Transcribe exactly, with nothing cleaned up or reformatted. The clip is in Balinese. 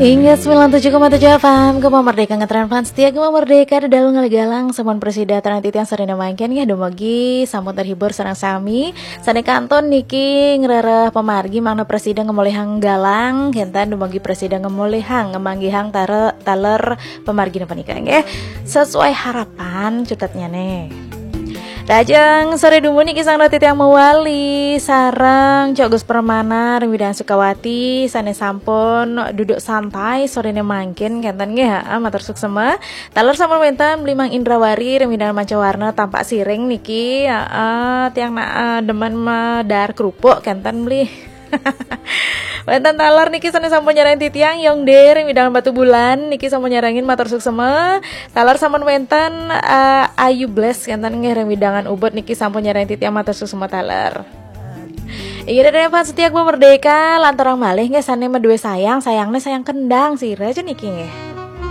Inggih sembilan tujuh koma tujuh F M, Gema Merdeka ngetren fans setia Gema Merdeka di dalam ngelegalang sampun prasida titiang sareng mangkin nggih, dumugi sampun terhibur sareng sami. Sané kantun niki ngrereh pamargi mangda prasida ngemolihang galang, kénten dumugi prasida ngemolihang ngemanggihang tare-, taler pamargi napa nika nggih. Sesuai harapan cutetnya nih. Lajeng sore dumun niki sareng titiang mawali sareng Cok Gus Permana ring Widang Sukawati sané sampun duduk santai soréné mangkin kénten nggih, ha, matur suksema. Taler sampun wénten Bli Mang Indrawari ring Widang Mancawarna tampak siring niki, ha, tiang na, eh, demen medar kerupuk kénten Bli. Wénten taler niki sané sampun nyarengin titiang Yong De ring Widang Batubulan niki sampun nyarengin matur suksema. Taler sampun wénten, eh, Ayu Bless kénten nggih ring Widangan Ubud niki sampun nyarengin titiang matur suksema taler. Iya, Dede fans setia Gema Merdeka, lanturang malih nggih sané madué sayang, sayangné sayang kendang sira aja niki nggih.